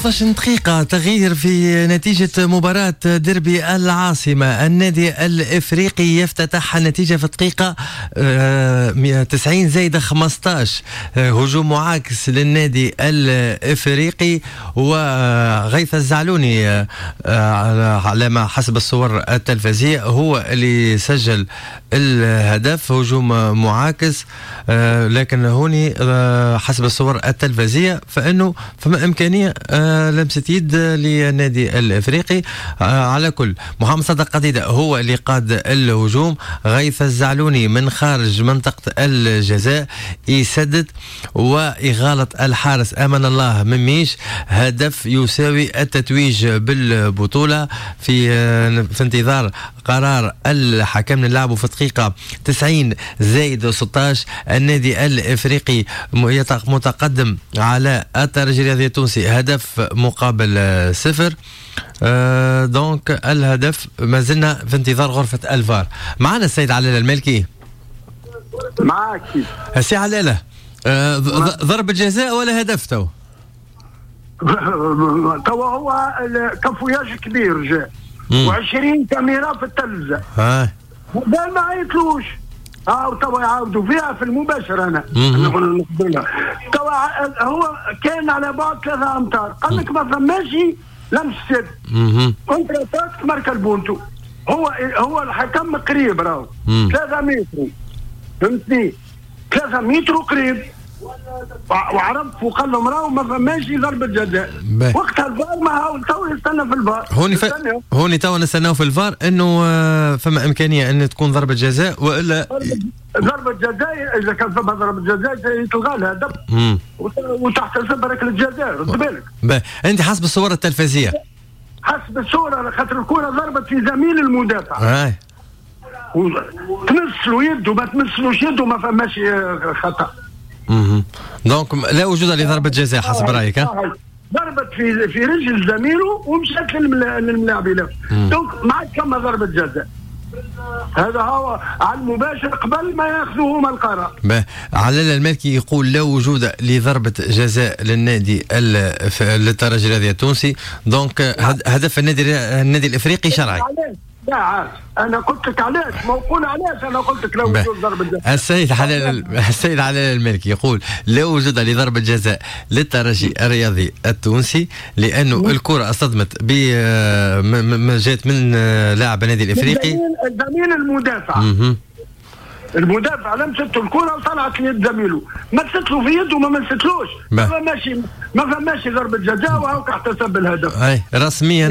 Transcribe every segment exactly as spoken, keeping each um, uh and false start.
خمسطاش دقيقة تغيير في نتيجة مباراة ديربي العاصمة. النادي الإفريقي يفتتح النتيجة في الدقيقة تسعين زايد خمسطاش، هجوم معاكس للنادي الإفريقي وغيث الزعلوني على ما حسب الصور التلفزية هو اللي سجل الهدف، هجوم معاكس، لكن هوني حسب الصور التلفزية فإنه فما إمكانية لمسة يد للنادي الافريقي. على كل محمد صادق قديدة هو اللي قاد الهجوم، غيث الزعلوني من خارج منطقة الجزاء يسدد ويغالط الحارس أمان الله مميش، هدف يساوي التتويج بالبطولة في في انتظار قرار الحكم. نلعبوا في دقيقة تسعين زائد ستاش، النادي الافريقي متقدم على الترجي الرياضي التونسي هدف مقابل صفر. آه donc الهدف ما زلنا في انتظار غرفة الفار. معنا السيد علالة المالكي. معاك سي علالة، آه ضربة جزاء ولا هدف تو؟ تو هو cafouillage كبير جاء وعشرين كاميرا في التلفزة. ها ما عيطلوش، ها توا يعاودوا فيها في المباشر. انا توا هو كان على بعد ثلاثة امتار، قال لك ما فماش لمس يد، contre-attaque ماركا البونتو. هو هو الحكم قريب راهو ثلاثة متر، فهمتني؟ ثلاثة متر قريب، وعرف وقال لهم راهو ما فماش ضربة جزاء. وقتها الفار ما هو تو يستنى في الفار. هوني ف... هوني تو نستناو في الفار انه فما امكانية ان تكون ضربة جزاء والا ضربة جزاء. اذا كان فما ضربة جزاء يتلغى الهدف وتحتسب ركلة جزاء، رد بالك. انت حسب الصور التلفزية، حسب الصورة خاطر الكرة ضربت في زميل المدافع. هاي تمسلو يده ما تمسلوش يده ما فماش خطأ. اها donc لا وجود لضربة جزاء حسب رايك؟ ها ضربت في في رجل زميله ومشات للملاعب، donc ما عادش فما ضربة جزاء. هذا هو على المباشر قبل ما ياخذوا هما القرار. علال المالكي يقول لا وجود لضربة جزاء للنادي للترجي الرياضي التونسي، donc هدف النادي النادي الافريقي شرعي. لا عاد انا قلت لك علاش، ما نقول علاش، انا قلت لك لا وجود ضربه جزاء. السيد حلال السيد علال المالكي يقول لا وجود لضربه جزاء للترجي الرياضي التونسي لانه الكره اصطدمت ب جات من لاعب النادي الافريقي زميل المدافع. مه. المدافع لمسته الكره وطلعت ليد زميله، مست له في يده وما مستلوش، ما فماش ما فماش ضربه جزاء وهوك احتسب الهدف. اي رسميا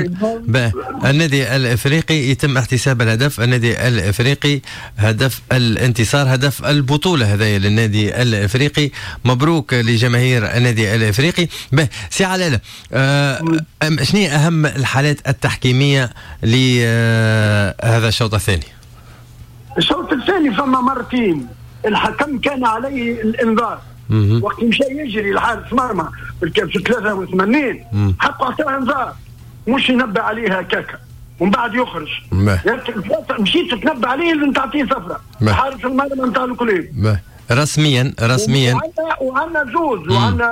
النادي الافريقي يتم احتساب الهدف، النادي الافريقي هدف الانتصار، هدف البطولة هذايا للنادي الافريقي. مبروك لجماهير النادي الافريقي. به سي علالة، أه شنو اهم الحالات التحكيميه لهذا الشوط الثاني؟ الشوط الثاني فما مرتين الحكم كان عليه الانذار. وقت مشى يجري الحارس مرمى في ثلاثة وثمانين حقه اعطاه انذار، مش ينبه عليه هكاكا ومن بعد يخرج. مشيت تتنبه عليه لازم تعطيه صفرة. حارس المرمى نتاع ال club رسميا رسميا. وعندنا زوز وعندنا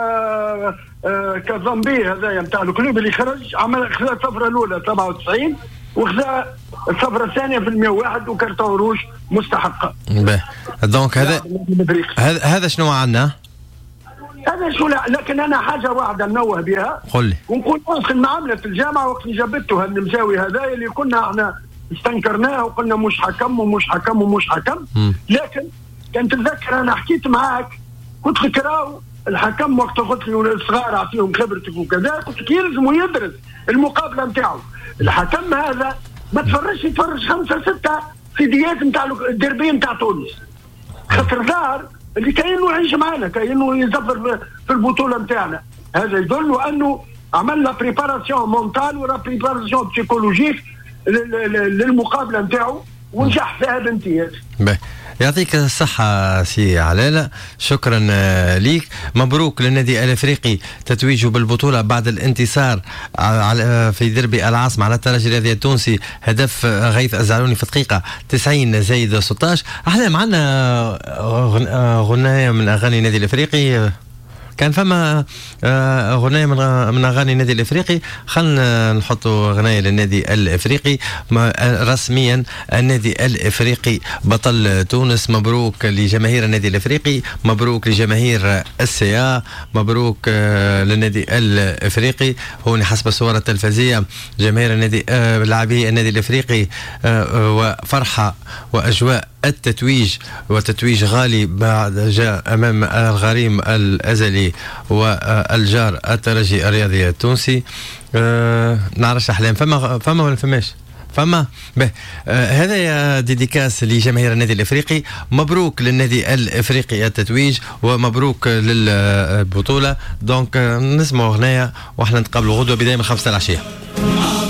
آه كازامبي هذايا نتاع ال club اللي خرج عمل خذا الصفرة الاولى سبعة وتسعين وخذا الصفرة الثانية في المية وواحد و carton rouge مستحقة. باهي donc هذا هذا هذا شنو عندنا؟ هذا شو لا، لكن أنا حاجة واحدة ننوه بها. قل لي. ونقول أصلا ما عملت الجامعة وقت جابته هالنمساوي هذا اللي كنا احنا استنكرناه وقلنا مش حكم ومش حكم ومش حكم. م. لكن كان تتذكر أنا حكيت معاك قلت لك راهو الحكم وقت قلت لي الصغار أعطيهم خبرتك وكذا، قلت لك يلزم يدرس المقابلة نتاعو. الحكم هذا ما تفرجش، يتفرج خمسة ستة سيديات نتاع الدربين نتاع تونس، خاطر ظاهر اللي كاينه يعيش معنا، كاينه يزفر في البطولة نتاعنا. هذا يدل انه عمل la préparation mentale و la préparation psychologique للمقابلة نتاعو ونجح فيها بامتياز. يعطيك الصحة سي علالة، شكرا ليك. مبروك للنادي الافريقي تتويجه بالبطولة بعد الانتصار في ديربي العاصمة على الترجي الرياضي التونسي، هدف غيث الزعلوني في دقيقة تسعين زايد ستاش. احنا معنا غناية من اغاني النادي الافريقي. كان فما آه، اغنية من من اغاني النادي الافريقي، خلينا نحطوا اغنية للنادي الافريقي. رسميا النادي الافريقي بطل تونس. مبروك لجماهير النادي الافريقي، مبروك لجماهير ال CA، مبروك آه، للنادي الافريقي. هون حسب الصور التلفزيونية جماهير النادي، آه، لاعبي النادي الافريقي وفرحه واجواء التتويج، وتتويج غالي بعد جاء امام الغريم الازلي والجار الترجي الرياضي التونسي. أه نعرفش احلام، فما فما ولا فماش؟ فما به. آه هذا يا dédicace لجماهير النادي الافريقي. مبروك للنادي الافريقي التتويج ومبروك للبطوله. donc آه، نسمعوا اغنية واحنا نتقابلوا غدوه بداية من خمسة العشيه.